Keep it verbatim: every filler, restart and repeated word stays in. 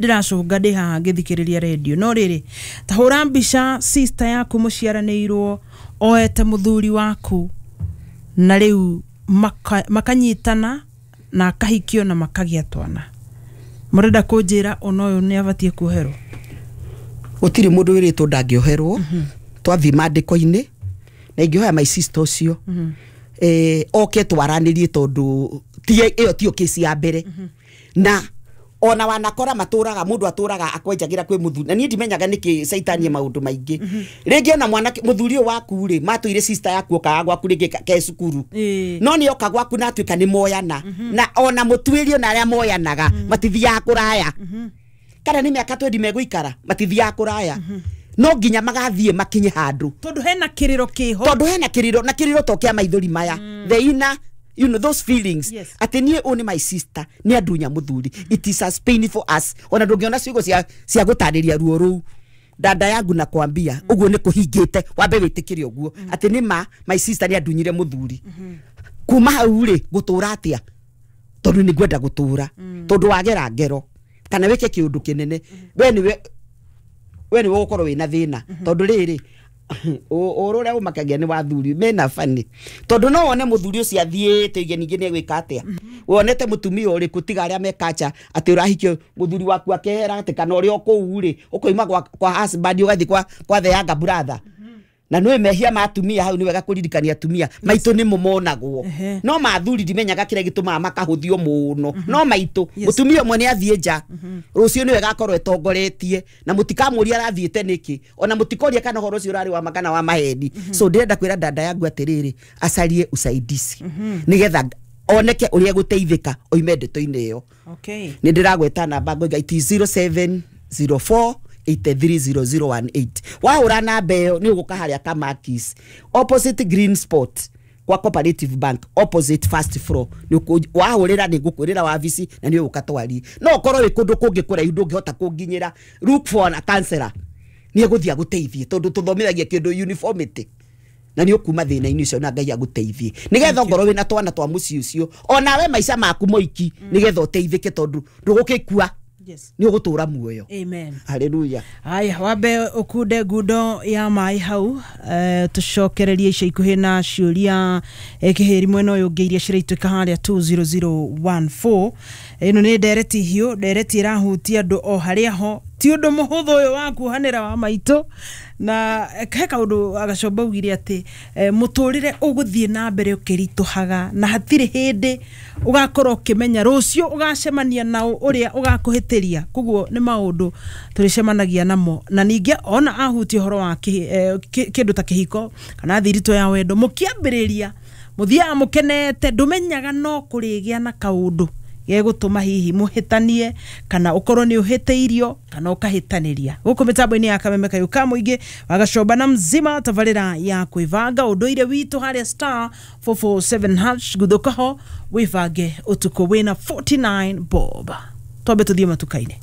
Ndĩracũnga ndĩ haha ngĩthikĩrĩria redio, no rĩrĩ, ta hũra mbica sister yaku mũciaranĩirwo oete mũthuri waku na rĩu maka- makanyitana na akahikio na makagĩa twana. Mũrenda kũnjĩra ona ũyũ nĩ abatiĩ kuoherwo? Gũtirĩ mũndũ wĩrĩtwo ndangĩoherwo. Twathiĩ mandĩko-inĩ na ingĩhoya my sister ũcio eh, oke twaranĩrie, tondũ ti ĩyo tiyo kesi ya mbere, na ona wanakora matũraga mũndũ atũraga akwenjagĩra kwĩ mũthuri, na niĩ ndimenyaga nĩkĩ caitanie maũndũ maingĩ. Rĩngĩ ona mwanake mũthuri ũyũ waku rĩ, matũire sister yaku okaga gwaku rĩngĩ ka- ke cukuru. Ĩĩ. No nĩ oka gwaku na atuĩka nĩ moyana, na ona mũtuĩrio na arĩa moyanaga matithiaga kũraya, kana nĩ mĩaka twendi megũikara, matithiaga kũraya, no nginya magathiĩ makinye handũ. Tondũ hena kĩrĩro kĩho. Tondũ hena kĩrĩro, na kĩrĩro to kĩa maithori maya, the inner you know those feelings. Yes. Atĩ niĩ ũyũ nĩ my sister, nĩ andunya mũthuri. It is as painful as ona ndũngĩona ciugo cia cia gũtarĩria ruo rũu. Dada yangu, na kwambia ũguo nĩ kũhingĩte, wambe wĩtĩkĩre ũguo atĩ nĩ ma my sister nĩ andunyire mũthuri. Kuma hau rĩ, gũtũra atĩa? Tondũ nĩ ngwenda gũtũra, tondũ wagera ngero kana wĩke kĩũndũ kĩnene, we nĩwe we nĩwe ũgũkorwo wĩna thĩna, tondũ rĩrĩ, ũhoro ũrĩa ũmakagia nĩ wathuri mena bani, tondũ no wone mũthuri ũcio athiĩte ige ningĩ nĩ egwĩka atĩa. Wonete mũtumia ũrĩkũ tiga arĩa mekacha atĩ ũrahikio mũthuri waku akehera, atĩ kana ũrĩa o kũu rĩ, ũkoima kwa, kwa husband ũgathiĩ kwa, kwa the younger brother? Na nĩ mehia ma atumia hau, nĩ wega kũririkania atumia maitũ nĩmo monagwo. Ehe. No mathuri ndimenyaga kĩrĩa gĩtũmaga makahũthio mũno, no maitũ Yes. mũtumia ũmwe nĩ athiĩ nja rũciũ, nĩ wega akorwo etongoretie, na mũtikamũria arathiĩte nĩkĩ, ona mũtikoria kana ũhoro ũcio ũrarĩ wa ma kana wa maheni. So ndĩrenda kwĩra dada yangu atĩrĩrĩ, acarie usaidizi nĩgetha oneke ũrĩa egũteithĩka oime ndeto-inĩ ĩyo. Okay. Nĩ ndĩragweta namba ngoiga it is zero seven zero four eight three zero zero one eight. Wahũra namba ĩyo nĩ ũgũka harĩa Kamakis, opposite Green Spot, kwa Cooperative Bank, opposite first floor. Nĩ ũkũ- wahũrĩra nĩ ngũkwĩrĩra wabici na nĩ ũgũka twarie. No ũkorwo wĩ kũndũ kũngĩ kũraihu ndũngĩhota kũnginyĩra, look for a counselor, nĩ egũthiĩ agũteithie, tondũ tũthomithagia kĩndũ uniformity, na nĩ ũkuma thĩna-inĩ ũcio na Ngai agũteithie, nĩgetha ongorwo wĩna twana twa mũciĩ ũcio, onawe maica maku moiki, nĩgetha ũteithĩke, tondũ ndũgũgĩkua. Yes. Nĩ ũgũtũra muoyo. Amen. Haleluya. Haya, wambe ũkunde ngundo ya maĩ hau, eh, tũcokererie ica ikuhĩ na ciũria, eh, kĩhĩri mwena ũyũ ũngĩ iria ciraitũka harĩa two zero zero one four. Ĩno nĩ ndereti hiũ, ndereti ĩrahutia andũ o harĩa ho. Ti ũndũ mũhũthũ ũyũ wa kuohanĩra wa maitũ, na eh, he kaũndũ agacomba augire atĩ eh, mũtũrĩre ũgũthiĩ na mbere ũkĩritũhaga, na hatirĩ hĩndĩ ũgakorwo ũkĩmenya rũciũ ũgacemania nao ũrĩa ũgakũhĩtĩria. Koguo nĩ maũndũ tũrĩcemanagia namo, na ningĩ ona ahutia ũhoro wa kĩ- eh, kĩ- kĩndũ ta kĩhiko kana thiritũ ya wendo. Mũkĩambĩrĩria mũthiaga mũkenete, ndũmenyaga no kũrĩgĩa na kaũndũ gegũtũma hihi mũhĩtanie, kana ũkorwo nĩ ũhĩtĩirio kana ũkahĩtanĩria. Gũkũ mĩtambo-inĩ ya Kameme Kayũ ka mũingĩ, wagacomba na mzima, tabarĩra ya kwĩbanga ũndũire witũ harĩa star four four seven hash. Guthũka ho wĩbange ũtukũ wĩna forty-nine bob. Twambe tũthiĩ matuka-inĩ.